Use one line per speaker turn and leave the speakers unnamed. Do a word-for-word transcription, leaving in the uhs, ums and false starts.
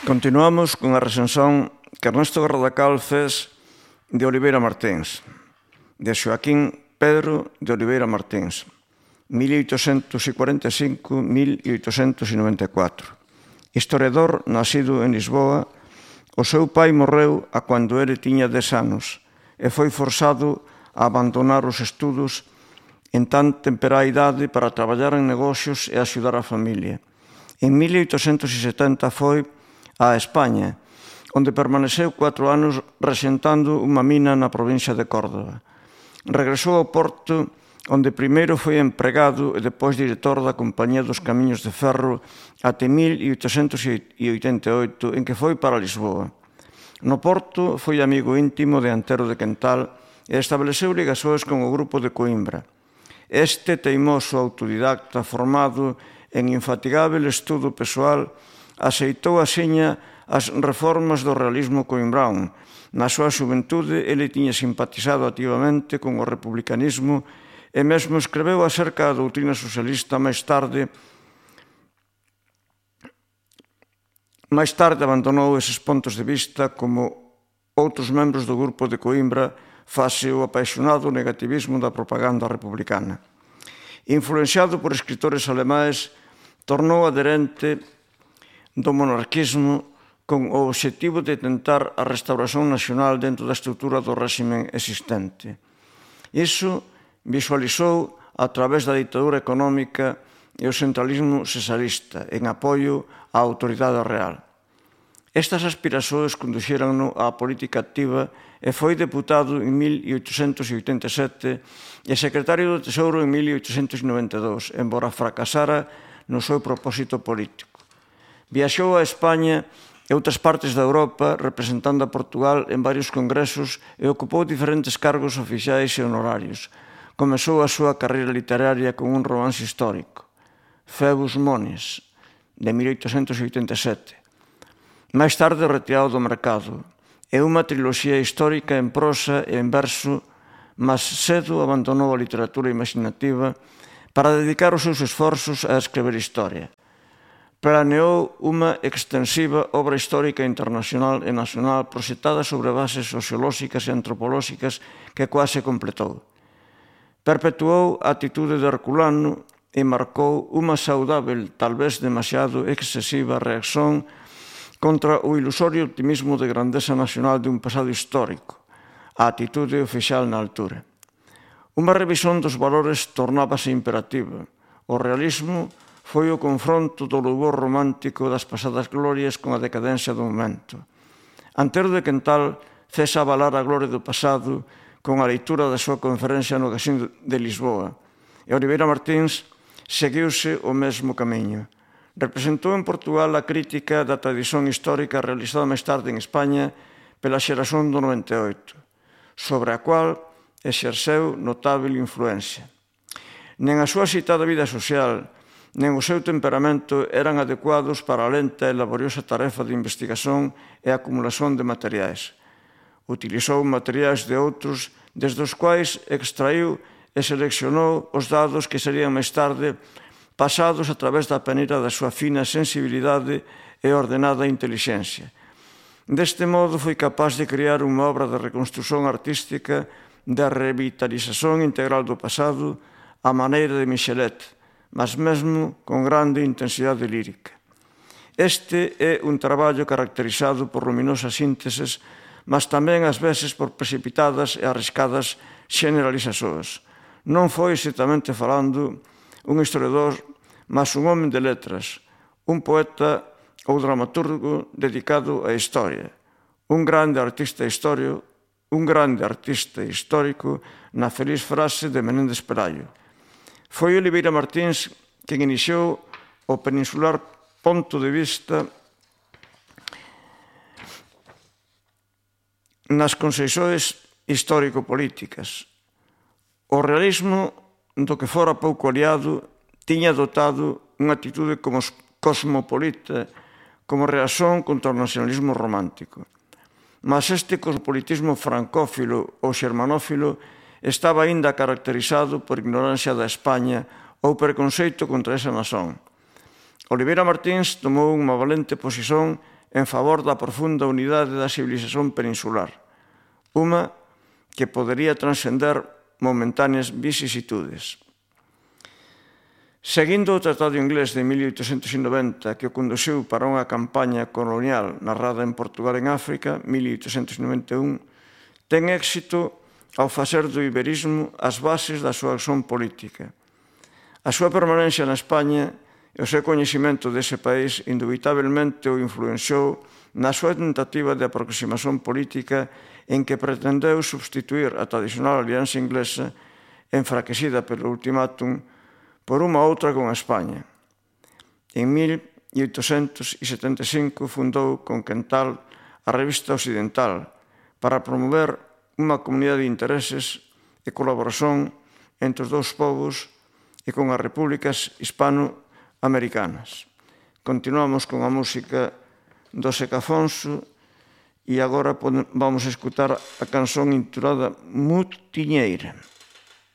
Continuamos con a recensión que Ernesto Garradacal fez de Oliveira Martins, de Xoaquín Pedro de Oliveira Martins, mil oitocentos cuarenta e cinco a mil oitocentos noventa e catro. Historiador nacido en Lisboa, o seu pai morreu a cando ele tiña dez anos e foi forzado a abandonar os estudos en tan temperá idade para traballar en negocios e axudar a familia. En mil oitocentos setenta foi a España, onde permaneceu catro anos rexentando unha mina na provincia de Córdoba. Regresou ao Porto, onde primeiro foi empregado e depois director da Compañía dos Camiños de Ferro até mil oitocentos oitenta e oito, en que foi para Lisboa. No Porto foi amigo íntimo de Antero de Quental e estableceu ligações con o grupo de Coimbra. Este teimoso autodidacta formado en infatigável estudo persoal aceitou axiña as reformas do realismo coimbrán. Na súa xuventude, ele tiña simpatizado activamente con o republicanismo e mesmo escreveu acerca da doutrina socialista máis tarde. Mais tarde abandonou eses pontos de vista como outros membros do grupo de Coimbra face o apaixonado negativismo da propaganda republicana. Influenciado por escritores alemães, tornou adherente do monarquismo con o obxectivo de tentar a restauración nacional dentro da estrutura do réxime existente. Iso visualizou a través da ditadura económica e o centralismo cesarista en apoio á autoridade real. Estas aspiracións conduxéranno á política activa e foi deputado en mil oitocentos oitenta e sete e secretario do Tesouro en mil oitocentos noventa e dous, embora fracasara no seu propósito político. Viaxou a España e outras partes da Europa representando a Portugal en varios congresos e ocupou diferentes cargos oficiais e honorarios. Comezou a súa carreira literaria con un romance histórico, Phoebus Moniz, de mil oitocentos oitenta e sete. Máis tarde retirado do mercado. É unha triloxía histórica en prosa e en verso, mas cedo abandonou a literatura imaginativa para dedicar os seus esforzos a escrever historia. Planeou unha extensiva obra histórica internacional e nacional proxectada sobre bases sociolóxicas e antropolóxicas que quase completou. Perpetuou a atitude de Herculano e marcou unha saudável, talvez demasiado excesiva reacción contra o ilusorio optimismo de grandeza nacional de un pasado histórico, a atitude oficial na altura. Unha revisión dos valores tornábase imperativa. O realismo foi o confronto do louvor romántico das pasadas glorias con a decadencia do momento. Antero de Quental fez avalar a gloria do pasado con a leitura da súa conferencia no Casino de Lisboa, e Oliveira Martins seguiuse o mesmo camiño. Representou en Portugal a crítica da tradición histórica realizada máis tarde en España pela xeración do noventa e oito, sobre a cual exerceu notável influencia. Nen a súa citada vida social, nen o seu temperamento eran adecuados para a lenta e laboriosa tarefa de investigación e acumulación de materiais. Utilizou materiais de outros, desde os quais extraíu e seleccionou os dados que serían máis tarde pasados a través da peneira da súa fina sensibilidade e ordenada intelixencia. Deste modo foi capaz de crear unha obra de reconstrución artística da revitalización integral do pasado á maneira de Michelet, mas mesmo con grande intensidade lírica. Este é un traballo caracterizado por luminosas sínteses, mas tamén ás veces por precipitadas e arriscadas generalizacións. Non foi, exactamente falando, un historiador, mas un home de letras, un poeta ou dramaturgo dedicado á historia, un grande artista histórico, un grande artista histórico na feliz frase de Menéndez Pelayo. Foi Oliveira Martins quen iniciou o peninsular ponto de vista nas concepcións histórico-políticas. O realismo, do que fora pouco aliado, tiña dotado unha actitude como cosmopolita, como reacción contra o nacionalismo romántico. Mas este cosmopolitismo francófilo ou xermanófilo estaba aínda caracterizado por ignorancia da España ou preconceito contra esa nación. Oliveira Martins tomou unha valente posición en favor da profunda unidade da civilización peninsular, unha que podería transcender momentáneas vicisitudes. Seguindo o Tratado Inglés de mil oitocentos noventa, que o conduciu para unha campaña colonial narrada en Portugal en África, mil oitocentos noventa e un, ten éxito ao facer do iberismo as bases da súa acción política. A súa permanencia na España e o seu coñecimento dese país indubitablemente o influenciou na súa tentativa de aproximación política en que pretendeu substituir a tradicional alianza inglesa enfraquecida pelo ultimátum por unha outra con a España. En mil oitocentos setenta e cinco fundou con Quental a Revista Occidental para promover unha comunidade de intereses e colaboración entre os dous povos e con as repúblicas hispanoamericanas. Continuamos con a música do Seca Afonso e agora vamos a escutar a canción intitulada Mutiñeira.